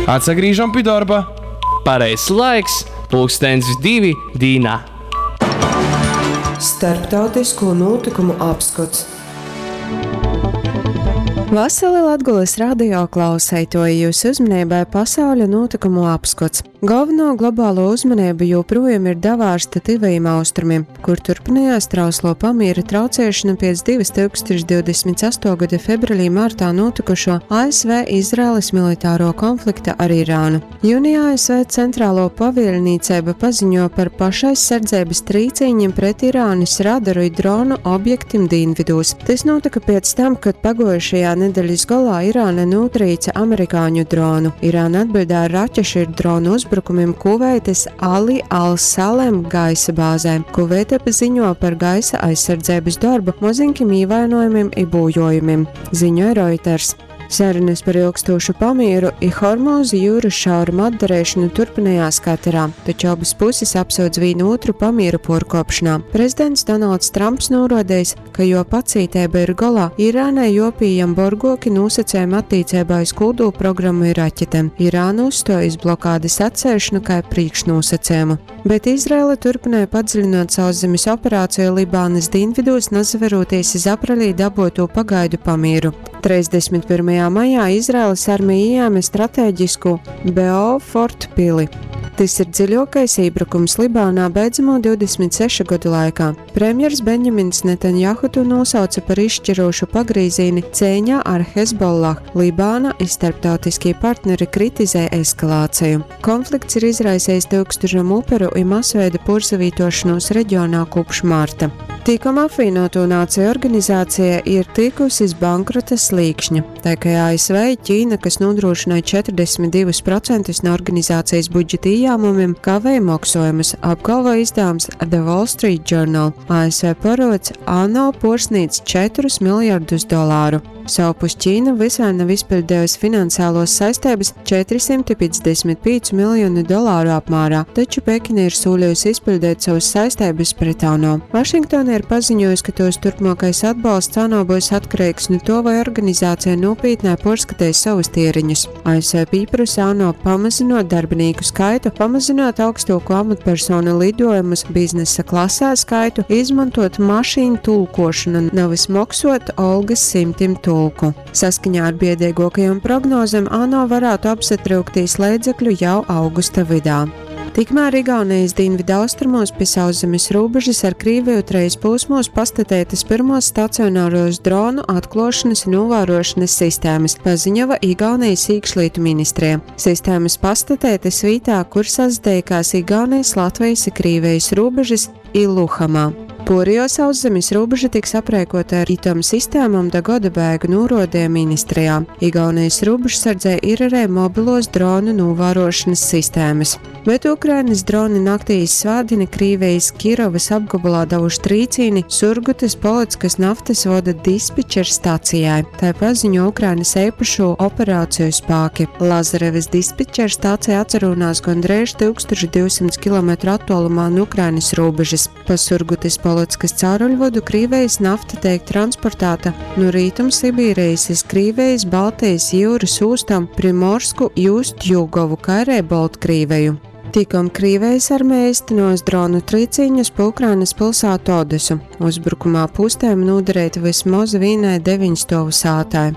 Atsagrīžam pi dorba. Pareizs laiks, pulkstens 2 dīnā. Starptautisko nūtykumu apskots. Vasali Latgolys radio klauseituoji, jūsu uzmaneibai pasauļa nūtykumu apskots. Galveno globālo uzmaneibu joprojām ir davārsta Tyvajiem Austrumiem, kur turpinājās trauslo pamiera traucēšana pēc 2028. gada februārī martā notikušo ASV-Izraēlas militāro konflikta ar Irānu. Jūnijā ASV centrālo pavielnīceiba paziņo par pašaizsardzības trīcīņiem pret Irānas radaru i dronu objektim dīnvidūs. Tas notika pēc tam, kad pagojušajā nedeļas golā Irāna notrīca amerikāņu dronu. Irāna atbildē ar raķešu ir dronu uzbrukumiem Kuveitas Ali al-Salem gaisa bāzē. Kuveita ziņo par gaisa aizsardzības darbu, mozinkim ievainojumiem i būjojumiem, ziņoja Reuters. Sarunas par ilgstošu pamieru i Hormūzu jūras šaurumu atdarīšanu turpinājās Katarā, taču abas puses apsūdz vienu otru pamieru porkopšanā. Prezidents Donalds Trumps norādījis, ka jo pacītēba ir golā, Irānai jopījam borgoki nosacījumi attiecībā uz kodolu programmu i raķetēm. Irāna uzstojas blokādes atcelšanu kā priekšnosacījumu. Bet Izraela turpināja padziļinot sauszemes operāciju Libānas dienvidos, nazaveroties iz aprelī daboto pagaidu pamieru. 31. Maijā Izraēlas armija ieņēma stratēģisku Beaufort pili. Tas ir dziļākais iebrukums Libānā beidzamo 26 gadu laikā. Premjers Benjamins Netanjahu to nosauca par izšķirošu pagrīzīni cīņā ar Hezbollah. Libāna i starptautiskie partneri kritizē eskalāciju. Konflikts ir izraisījis tūkstošiem uperu i masveida pursavītošanos reģionā kopš marta. Tikam apvienoto nāciju organizācija ir tikusi iz bankrota slīkšņa, tā kā ASV Ķīna, kas nodrošināja 42% no organizācijas budžeta ieņēmumiem, kavēja maksājumus, apgalvo izdevums The Wall Street Journal. ASV parods ANO porsnīdz 4 miljardus dolāru. Savpus Ķīna visai nav izpildījusi finansiālos saistības 455 miljonu dolāru apmērā, taču Pekina ir solījusi izpildīt savas saistības pret ANO. Vašingtona ir paziņojusi, ka tos turpmākais atbalsts ANO būs atkarīgs no to, vai organizācija nopietnē porskatīs savus tieriņus. ASV pieprasa ANO pamazinot darbinieku skaitu, pamazinot augstāko amatpersonu lidojumus biznesa klasē skaitu, izmantot mašīnu tulkošanu, nevis maksot algas simtiem tulku. Saskaņā ar biedīgākajām prognozēm ANO varētu apsatraukties līdzekļu jau augusta vidā. Tikmēr Igaunijas dienvidu austrumos pie sauszemes robežas ar Krieviju treis posmos pastatētas pirmos stacionāros dronu atklošanas un novērošanas sistēmas, paziņova Igaunijas iekšlietu ministrija. Sistēmas pastatētas vietā, kur sazdeikās Igaunijas, Latvijas un Krievijas robežas Iluhamā. Porio sauszemes robeža tiks aprēkota ar itom sistēmām da gada beigu norodīja ministrijā. Igaunijas robežsardzē ir arī mobilos dronu novērošanas sistēmas. Bet Ukrainas droni naktī iz svētdieni Krīvijas Kirovas apgabalā devuši trīcīni Surgutas Polockas naftas voda dispečera stacijai. Tā paziņo Ukrainas īpašo operāciju spēki. Lazarevas dispečera stācija atcerunās gandrīz 1200 km attālumā no Ukrainas robežas. Pa Surgutas Polockas cauruļvodu Krīvijas nafta tiek transportēta no Rietum Sibīrijas iz Krīvijas Baltijas jūras ūstām Primorsku, Jūst-Jugovu, kā arī Baltkrīveju. Tikom Krīvijas armija īstenos dronu trīcīņus pa Ukrainas pilsētu Odesu. Uzbrukumā pustēm nodarīta vismaz vienai deviņstovu sātai.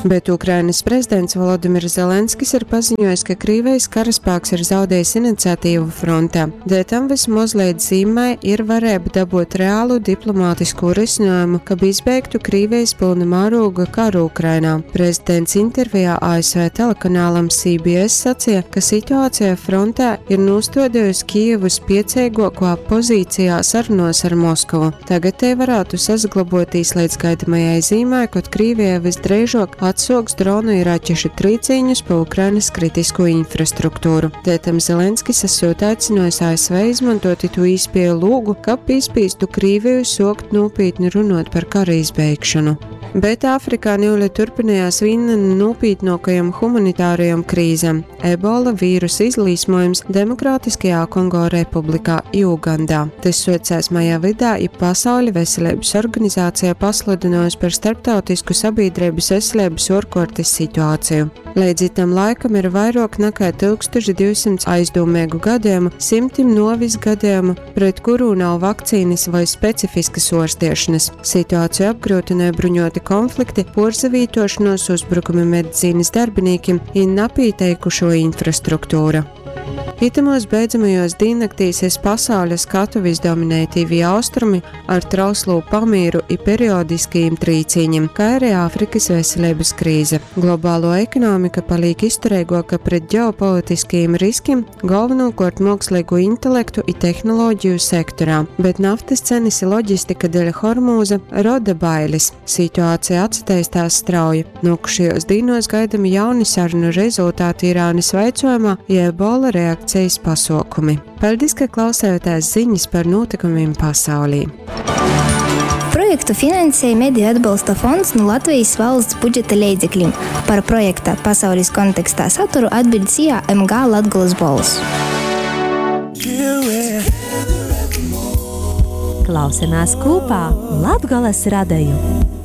Bet Ukrainas prezidents Volodimirs Zelenskis ir paziņojis, ka Krīvijas karaspēks ir zaudējis iniciatīvu frontē. Dēļ tam vismaz līdz zīmai ir varēja dabūt reālu diplomātisku risinājumu, kab izbeigtu Krīvijas pilna mēroga karu Ukrainā. Prezidents intervijā ASV telekanālam CBS sacīja, ka situācija frontē ir nostādījusi Kijevu spiecīgākā pozīcijā sarunās ar Moskavu. Tagad te varētu sazaglaboties līdz gaidamajai zīmai, kad Krīvija visdrīzāk atsoks dronu i raķešu trīcīņus pa Ukrainas kritisko infrastruktūru. Tētam Zelenskis esot aicinājis ASV izmantot itu īspēju lūgu, ka pīspīstu Krīviju sokt nopietni runot par kara izbeigšanu. Bet Āfrikā niule turpinājās viena no nopietnākajām humanitārajām krīzēm - ebola vīrusa izlīsmojums Demokrātiskajā Kongo Republikā i Ugandā. Tas socās maijā vidā, ja Pasaules veselības organizācija pasludinājusi par starptautisku sabiedrības veselības veselības uorkuortys situāciju. Leidz itam laikam ir vairuok nakai 1200 aizdūmeigu gadejumu, symtim nuovis gadejumu, pret kurū nav vakcīnys voi specifiskys uorstiešonys. Situāciju apgryutynoj bruņuoti konflikti, puorsavītuošonuos, uzbrukumi medicīnys darbinīkim i napīteikušuo infrastruktūra. Itamuos beidzamajuos dīnnaktīs iz pasauļa skatuvis dominej Tyvī Austrumi ar trauslū pamīru i periodiskajim trīcīņim, kai ari Āfrikys veseleibys krīze. Globāluo ekonomika palīk iztureiguoka pret ģeopolitiskajim riskim, golvonūkuort muoksleigū intelektu i tehnoloģiju sektorā, bet naftys cenys i loģistika deļ Hormūza roda bailis. Situācija atsateistās strauji. Nuokušajuos dīnuos gaidami jauni sarunu rezultāti Irānys vaicuojumā i Ebola reakcejis pasuokumi. Paļdis, ka klausējotēs ziņas par nūtykumim pasaulī. Projektu finansēja Mediju atbalsta fonds nu Latvejis valsts budžeta leidzeklim. Par projekta Pasaulis kontekstā saturu atbiļd SIA MG Latgolys bolss. Klausamies kopā Latgoles radeju.